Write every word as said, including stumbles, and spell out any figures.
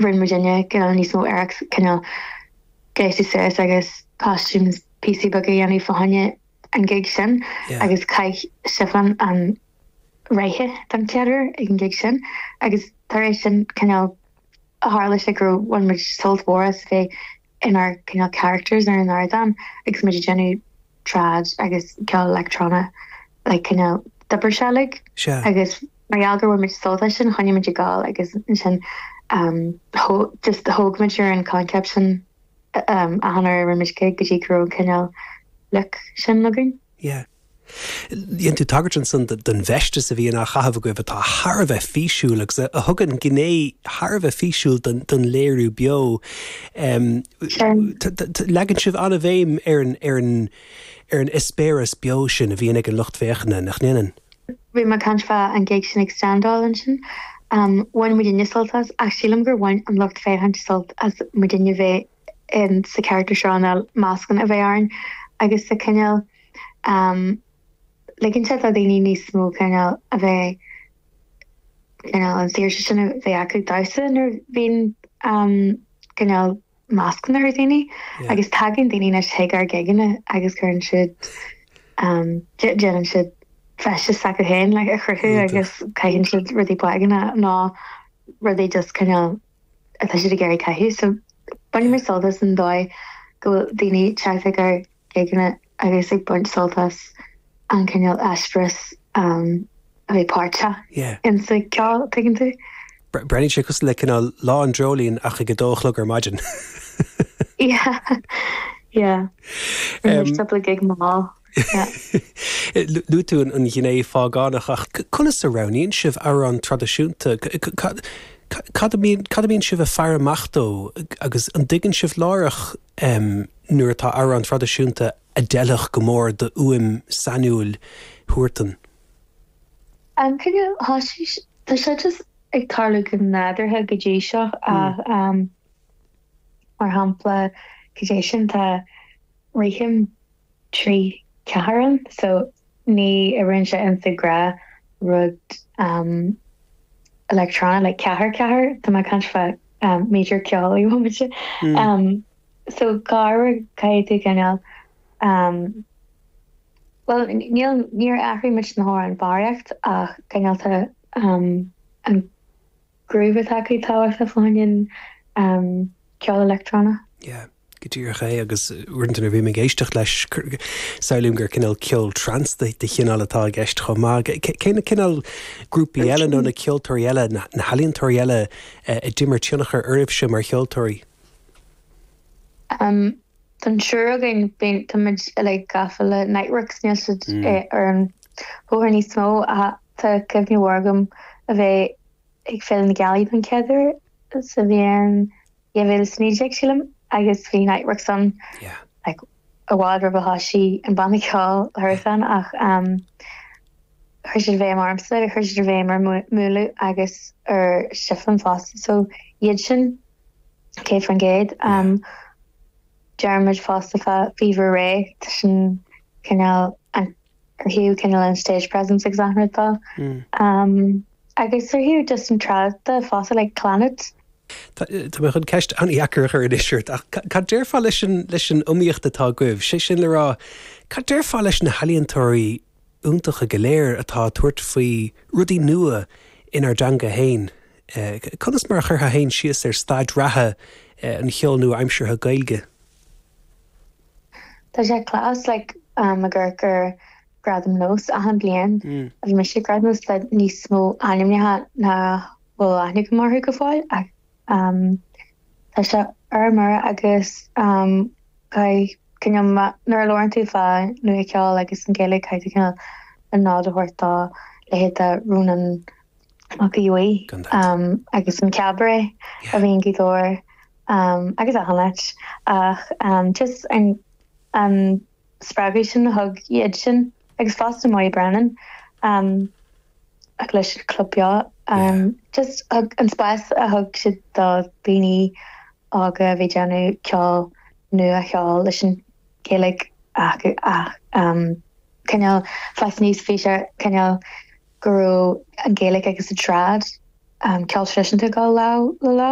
Rinne muidinne cineál níos mó iarracht cineál gléasadh suas agus costumes píosaí beaga a dhéanamh fá choinne an gig sin Yeah. agus chaith Siflin an reithe don chéad uair ag an gig sin agus tar éis sin cineál a tharla sé go bhain muid sult mhór as bheith inár cineál characters ar an ardán agus muid ag déanamh trad agus ceol leictreonach like cineál d'oibrigh sé like Sea. agus mar gheall gur bhain muid sult as sin choinnigh muid ag gabháil agus ansin um, thó- just thóg muid ar an concept sin um, achan uair a rinne muid gig go dtí go raibh cineál look sin againn. Yeah. Dhein tú tagairt ansan don bhfeisteas a bhíonn á chaitheamh agaibh atá thar a bheith físiúil agus a a thugann gné thar a bheith físiúil don, don léiriú beo. Um, Sure. t- t- t- Leagann sibh an-bhéim ar an ar an ar an eispéireas beo sin a bhíonn ag an lucht féachana nach ndéanann. Bhí mé ag caint fá an gig sin ag Standáil ansin. Um, bhain muidinne sult as ach sílim gur bhain an lucht féachana sult as muidinne bheith in sa character seo ná mascanna a bheith orainn agus sa cineál um, ligeann sé do daoine níos mó cineál a bheith cineál an saoirse sin a bheith acu damhsa nuair a bhíonn um, cineál mascanna ar daoine Yeah. agus tagann daoine anois chuig ár gigeanna agus cuireann siad um, dé- déanann siad feisteas acu féin le a chruthú Iontach. agus caitheann siad rudaí beaga ná rudaí just cineál atá siad ag iarraidh caitheamh so baineann muid sult as an dóigh go bhfuil daoine teacht ag ár gigeanna agus ag baint sult as an cineál eispéireas um, a bheith páirteach Yeah. in sa ceol tuigeann tú. Breathnaíonn sé cosúil le cineál lá an dreoilín ach ag a dó a chlog ar maidin. Yeah. Yeah. Um, Cúpla gig mall. Yeah. Luaigh tú an ghné phágánach ach conas a roghnaíonn sibh amhrán traidisiúnta Cad a bhíonn sibh ag faire amach dó agus an dtuigeann sibh láithreach um, nuair atá amhrán traidisiúnta a d'fheilfeadh go mór do fhuaim sainiúil Huartan. Um, cineál tá sé just ag tarlú go nádúrtha go dtí seo ach um, mar shampla go dtí sin tá rithim trí ceathair ann so ní oibríonn sé in sa ghnáthrud um, electronic like ceathair ceathair tá mé ag caint fá um, major ceol i bhmuide. Mm. Um, so gar caithfidh tú cineál um, well níl níor athraigh muid na hamhráin barraíocht ach cineál tá um, an groove atá acu tábhachtach fá choinne um, ceol leictreonach. Yeah. Go díreach é agus uaireanta nuair a bhím ag éisteacht leis samhlaím gur cineál ceol trance de de chineál atá i gceist chomh maith. Cé na cineál grúpaí eile nó na ceoltóirí eile na na healaíontóirí eile a d'imir tionchar oraibhse mar cheoltóirí? Um, Don triúr againn bíonn tá muid like gafa le Niteworks níl siad Mm. eh, ar an bhóthar níos mó ach tá cuimhne mhór agam a bheith ag Féile na Gealaí don chéad uair sa bhliain dhá mhíle is naoi déag sílim agus bhí Niteworks ann Yeah. like, i bhfad roimh a thosaigh an banna ceoil Huartan ach um, chuir siad bhéim ormsa chuir siad bhéim ar Múnlú agus ar Siflin fosta so iad sin céad faoin gcéad um, Deirimid fosta fá Fever Ray tá sin cineál an ar thaobh cineál an stage presence agus an rud dó. Mm. Um, agus ar thaobh just an trad de fosta like Clannad Tá tá mé chun ceist an-deacair a chur anois ort ach ca- cad déarfá leis an leis an iomaíocht atá agaibh, sé sin le rá cad déarfá leis na healaíontóirí iontacha go léir atá ag tabhairt faoi rudaí nua inár dteanga féin. Eh, Conas mar a chuirfeá féin síos ar staid reatha eh, an cheoil nua-aimseartha Gaeilge. Tá sé class like um, gur gur Gradam Nós achan bliain Mm. a bhí mise Gradam Nós le níos mó ainmneacha ná bhfuil aithne go marthú go fáil ach um, tá sé ar mar agus um, caithfidh cineál nuair a labhraíonn tú fá nua-cheol agus an Ghaeilge caithfidh tú cineál an nod a thabhairt dá leithéid de Rónán Mac Aodha Bhuí Gan dabht. um, agus an cabaret a bhíonn go dóir um, agus a leis ach um, just an an spreagadh sin a thug iad sin agus fosta Molly Brennan um, ach leis Club Beo um, just thug an spás a thug siad do daoine óga a bhí déanamh ceol nua cheol leis an Ghaeilge ach ach um, cineál fás níos bhí sé cineál go raibh an Ghaeilge agus an trad um, ceol traidisiúnta go lá le lá